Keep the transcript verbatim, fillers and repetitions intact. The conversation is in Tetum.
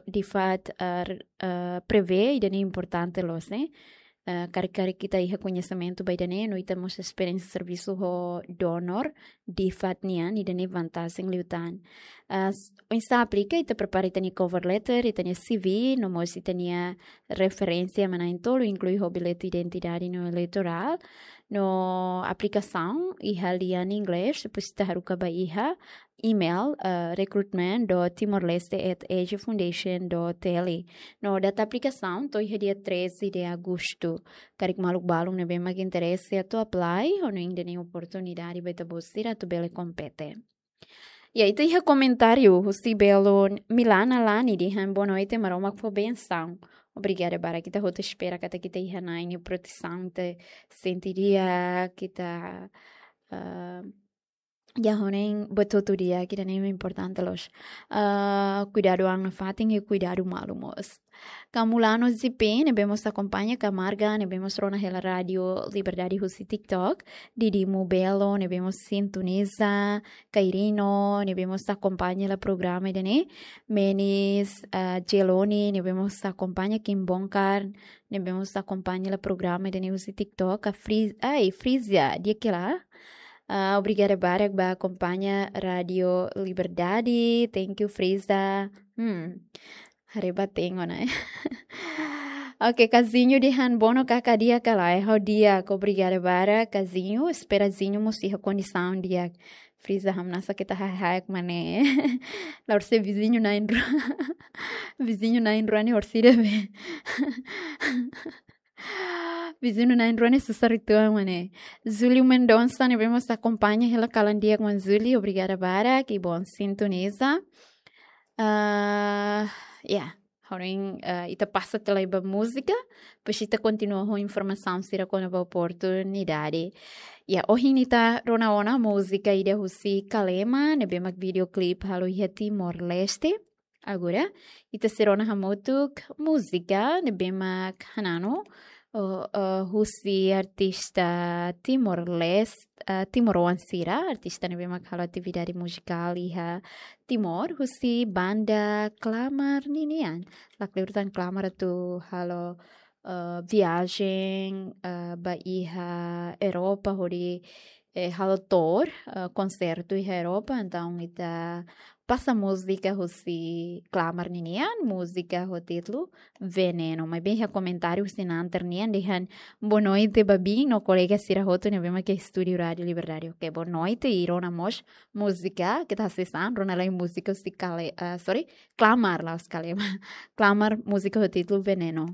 de fato, ah, ah, prevee ida-ne'e importante loos, ne'e? Ah, karik-karik ita iha koñesimentu ba ida-ne'e, no ita mós esperiénsia servisu ho donor, de fato nian, ida-ne'e vantajen liután. Ah, s-, oinsá aplika, ita prepara ita-nia cover letter, ita-nia C V, no mós ita-nia referénsia ema na'in-tolu, inklui ho billete identidade no eleitorál, no aplikasaun iha lian inglés, depois ita haruka ba iha email, eh, recruitment dot timor leste at asia foundation dot T L. No data aplikasaun to'o iha dia treze de agosto. Karik maluk balun ne'ebé mak interese atu apply, hanoin ida-ne'e oportunidade ba ita-boot sira atu bele kompete. Ya, ita iha komentáriu husi belun Milana Lani dehan: "Boa noite, Maromak fó bensaun." Obrigada barak, ita hotu espera katak ita iha Na'i nia protesaun, ita sente di'ak, ita, ah, ya, hanoin buat hotu di'ak, ida-ne'e importante loos. Ah, kuidadu an nafatin i kuidadu malu mós. Kamulano J P ne'ebé mós akompaña, Camarga ne'ebé mós rona hela Rádio Liberdade husi TikTok, Didi Mubelo ne'ebé mós sintoniza, Kairino ne'ebé mós akompaña hela programa ida-ne'e, Menis, ah, Jeloni ne'ebé mós akompaña, Kim Bonkar ne'ebé mós akompaña hela programa ida-ne'e husi TikTok, a Friz-, ai, Friza, di'ak ka lae? Ah, obrigada barak ba akompaña Rádio Liberdade. Thank you, Friza. Hmm. Haree ba tengo, ne'e? Oke, Kazinho dehan: "Bono, kaka di'ak ka lae?" Ha'u di'ak, obrigada barak, Kazinho. Espera Zinho mós iha kondisaun di'ak. Friza, hamnasa keta hahaek mane. La horisehik viziñu na'in-rua. Viziñu na'in-rua ne'e horisehik ida be. Viziñu na'in-rua ne'e susar uitoan mane. Júlio Mendonça ne'ebé mós akompaña hela, kalan di'ak maun Júlio, obrigada barak, i bom sintoniza. Ah, ya, hanoin, ah, ita pasa tiha lai ba múzika, depois ita kontinua ho informasaun sira kona-ba oportunidade. Ya, ohin ita rona ona múzika ida husi Kalema, ne'ebé mak videoclip halo iha Timor-Leste. Agora, ita sei rona hamutuk múzika ne'ebé mak hananu, o, o, husi artista Timor-Leste, ah, timoroan sira, artista ne'ebé mak halo atividade muzikál iha Timor, husi banda Klamar ninian. Lakleur tan Klamar atu halo, eh, viajen, eh, ba iha Europa, hodi, eh, halo tour, eh, konsertu iha Europa. Entaun ita pasa múzika husi Klamar ninian, múzika ho títulu Veneno. Maibé iha komentáriu husi Nanter nian dehan: "Boa noite, Babi, no kolega sira hotu ne'ebé mak iha estúdiu Rádio Liberdade." Oke, boa noite, i rona mós múzika, keta hasees an, rona lai múzika husi Kale-, ah, sorry, Klamar, la'ós Kalema. Klamar, múzika ho títulu Veneno.